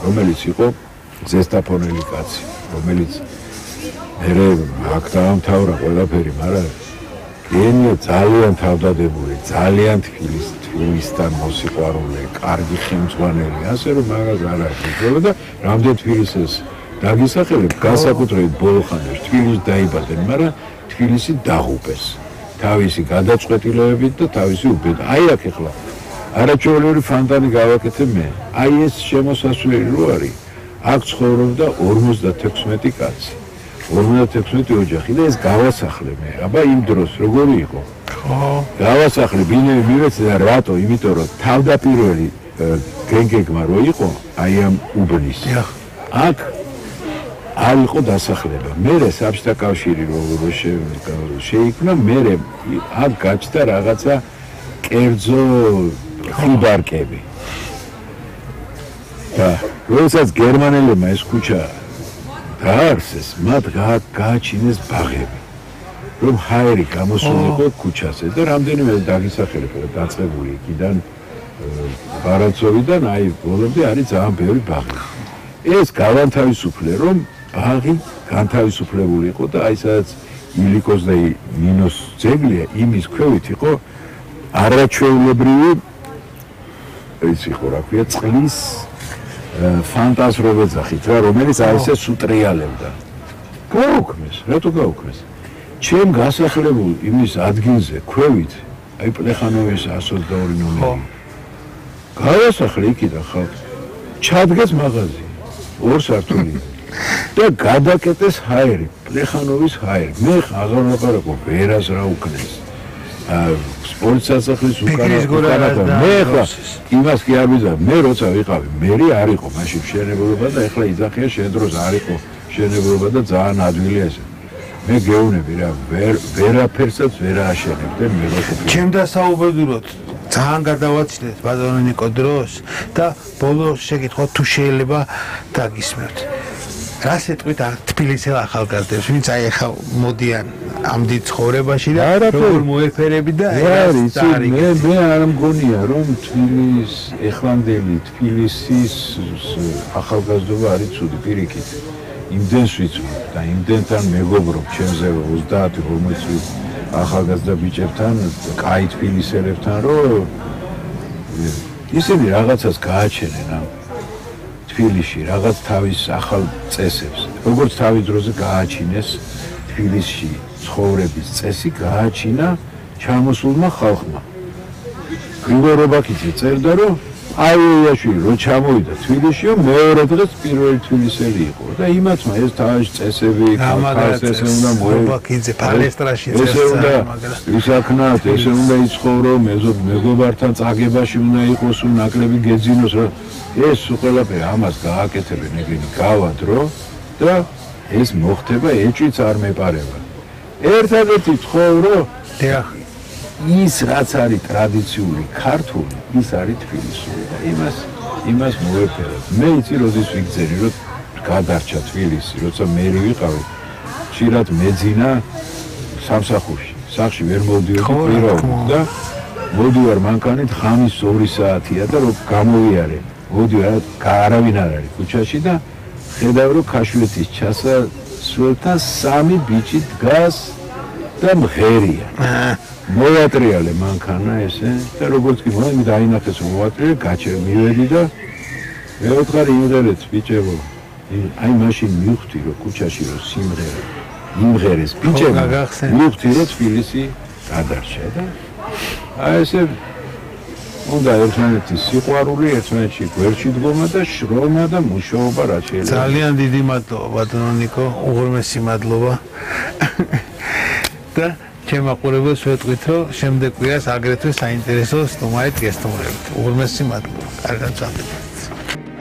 რომელიც იყო ზესტაფონელი კაცი, რომელიც მერე აქ დაამთავრა ყველაფერი, მაგრამ გენია ძალიან თავდადებული, ძალიან თბილისთან მოსიყვარულე, კარგი ხელმძღვანელი, ასე რომ მაგას არ აქვს და რამდენ თბილისს დაგისახელებ, განსაკუთრებით ბოლო ხანაში თბილისში დაიბადნენ, მაგრამ თბილისი დაღუპეს თავისი გადაწყვეტილებებით და თავისი უბედით. აი აქ ახლა არაჩვეულებრივი ფანტანი გავაკეთე მე. აი ეს შემოსასვლელი რო არის, აქ ცხოვრობდა 56 კაცი. 56 ოჯახი და ეს გავასახლე მე. აბა იმ დროს როგორი იყო? ხო. გავასახლე ბინები მივეცე და რატო? იმიტომ რომ თავდაპირველი გენგეგმა რო იყო, აი ამ უბნის. აქ არ იყო დასახლება. მერე საბჭოთა კავშირი რო შეიქმნა, მერე აქ გაჩნდა რაღაცა კერძო ხიბარკები. და როდესაც გერმანელებმა ეს ქუჩა დაარსეს, მათ გააჩინეს ბაღები. რომ ჰაერი გამოსულიყო ქუჩაზე და რამდენიმე დაგისახელებ და დაწყებული იქიდან ბარაცოვიდან აი ბოლომდე არის ძალიან ბევრი ბაღი. ეს გავანთავისუფლე რომ ბაღი განთავისუფლებული იყო და აი სადაც ილიკოს და ნინოს ძეგლია იმის ქვევით იყო არაჩვეულებრივი ის იყო რა ქვია წყლის ფანტაზრობა ძახით რა რომელიც აი ესე სუტრიალებდა. გაუქმეს, რატო გაუქმეს? ჩემ გასახლებულ იმის ადგილზე ქვევით აი პლეხანოვის 122 ნომერი. გავასახლე იქიდან ხალხი. ჩადგეს მაღაზია, 2 სართული. და გადაკეტეს ჰაერი, პლეხანოვის ჰაერი. მე აღარ ვაპარაკო ვერას რა უკნეს. სპორტ სასახლის უკანა მე ხა იმას კი არ ვიზა, მე როცა ვიყავი, მერი არ იყო მაშინ მშენებლობა და ეხლა იძახია შენ დროს არ იყო მშენებლობა და ძალიან ადვილია ეს. მე გეუბნები რა, ვერაფერსაც ვერ ააშენებდნენ მე როცა. ჩემ დასაუბედუროთ ძალიან გადავაჩნდეთ ბატონო ნიკო დროს და ბოლო შეკითხვა თუ შეიძლება დაგისმევთ. რა სიტყვით თბილისელ ახალგაზრდებს, ვინც აი ახლა მოდიან ამდენ ცხოვრებაში და როგორ მოეფერები და მე არ მგონია რომ თბილის ეხლანდელი თბილისის ახალგაზრდობა არის ცუდი პირიქით. იმდენს ვიცნობ და იმდენთან მეგობრობ ჩემზე 30-40 ახალგაზრდა ბიჭებთან, კაი თბილისელებთან, რომ ისინი რაღაცას გააჩენენ ამ თბილისში, რაღაც თავის ახალ წესებს. როგორც თავის დროზე გააჩინეს თბილისში ცხოვრების წესი, გააჩინა ჩამოსულმა ხალხმა. გრიგორ რობაქიძე წერდა, რომ აიაშვილი რო ჩამოვიდა თბილისშიო, მეორე დღეს პირველი თბილისელი იყო და იმათმა ეს თავის წესები, ესე უნდა რობაქიძე პალესტრაში წერდა, ისაქნათ, ესე უნდა იცხოვრო, მეგობართან წაგებაში უნდა იყოს, ნაკლები გეძინოს, რა ეს ყველაფერი ამას გააკეთებენ ეგრენი გავადრო და ეს მოხდება ეჭვიც არ მეპარება. ერთადერთი ცხოვრო ის რაც არის ტრადიციული ქართული, ის არის თბილისური და იმას მოეფერებ. მე იცი როდის ვიგზერი, რომ გადარჩა თბილისი, როცა მე ვიყავი, ხშირად მეძინა სამსახურში. სახში ვერ მოვდიოდი პიროვნად და მოდივარ მანქანით ხამის 2 საათია და რომ გამოვიარე. მოდივარ, არავინ არ არის ქუჩაში და ხედავ რომ ქაშვეთის ჩასასვლელთან 3 ბიჭი დგას და მღერია. მოვატრიალე მანქანა ესე და როგორც კი მომი დაინახეს რომ მოვატრიალე, მივედი და მეოთხარი იმღერეთ ბიჭებო. აი მაშინ მივხვდი რომ ქუჩაში რომ სიმღერა იმღერეს ბიჭებო. მივხვდი რომ თბილისი გადარჩა და აი ესე უნდა ერთმანეთის სიყვარული, ერთმანეთში გვერდში დგომა და შრომა და მუშაობა რა შეიძლება. ძალიან დიდი მადლობა ბატონო ნიკო, უღრმესი მადლობა. და ჩემ მაყურებელს ვეთქვით, რომ შემდეგ კვირას აგრეთვე საინტერესო სტუმარით გესტუმრებით. უღრმესი მადლობა. კარგად გასაგებია.